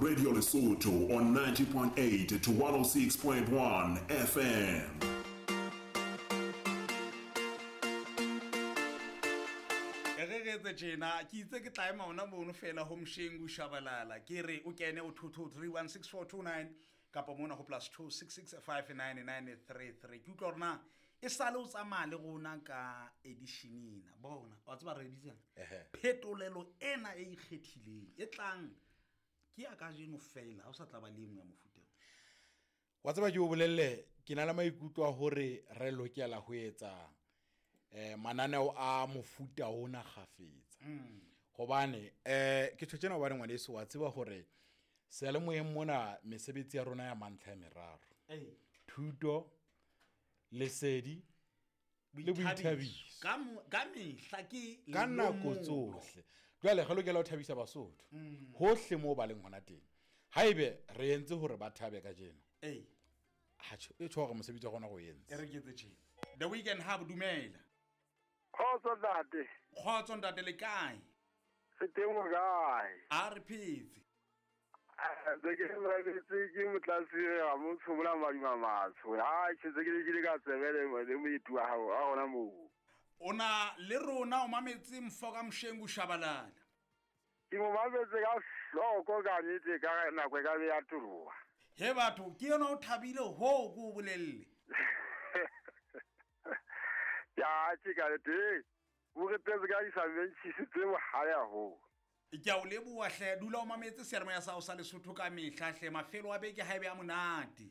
Radio Lesotho on 90.8 to 106.1 FM. E re re etse tjena ke itse ke tla ema ona mono fela ho Mshengu Shabalala ke re o kene o 22316429 kapa mona ho plus 26659933 ke utlwa hore na e sale o tsamaya le rona ka edition ena bona wa tseba re bitsang phetolelo ena e ikgethileng e tlang ke ya kajeno fela ha o sa tla ba le engwe ya mofuta wa tseba ke o bolelle ke na le maikutlo a hore re lokela ho etsa mananeo a mofuta ona kgafetsa. Hobane ke tjho tjena hobane ngwaneso wa tseba hore seyalemoyeng mona mesebetsi ya rona ya mantlha e meraro. Thuto, lesedi le boithabiso. Ka mehla ke ka nako tsohle. Jwale re lokela ho thabisa Basotho hohle moo ba leng hona teng. Haebe re entse hore ba thabe kajeno. Ha tjho, e tjho hore mosebetsi wa rona re o entse. E re ke etse tjena. The Weekend Hub, dumela. Kgotso ntate. Kgotso ntate, le kae? Re teng o kae? A re phetse. Ntse ke mametse ke motlatsi wa motsho mona Madima Matsho. Ha ke ntse ke le ke le ka tsebe le moeti wa hao a hona moo. O na le rona o mametse Mfoka Mshengu Shabalala. Ke mo mametse ka hloko ka nnete ka nako e ka be ya toroha. He batho, ke yona o thabile ho ke o bolelle. Ya, ke ka nnete. O re tetse ka disamentjhisi tse bohale haholo. Ke a o leboha hle, dula o mametse seyalemoya sa hao sa Lesotho ka mehla hle, mafelo a beke ha ebe a monate.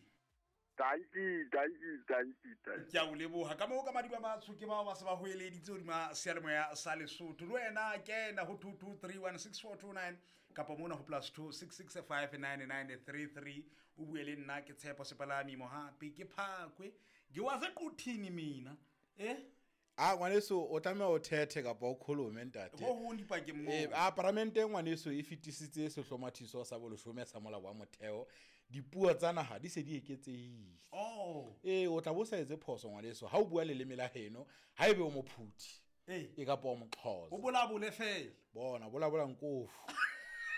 Dankie, dankie, dankie, dankie. Ke a o leboha. Ka moo ka Madiba Matsho ke bao ba se ba hoeleditse hodima seyalemoya sa Lesotho. Le wena kena ho 22316429 kapa mona ho plus 26659933 o bue le nna ke Tshepo Sepalami Mohapi ke Phakwe. Ke wa sequthini mina. A ngwaneso o tlameha o thethe kapa o kholome ntate. Ho hong dipakeng moo. A paramente ngwaneso e fetisitse sehlomathiso sa boleshome sa molao wa motheo. Dipuo tsa naha di se di eketsehile. O tla bo sa etse phoso ngwaneso ha o bua leleme la heno, ha ebe o mophuthi. E kapa o moxhosa. O bolabole fela. Bona, bolabola nkofu.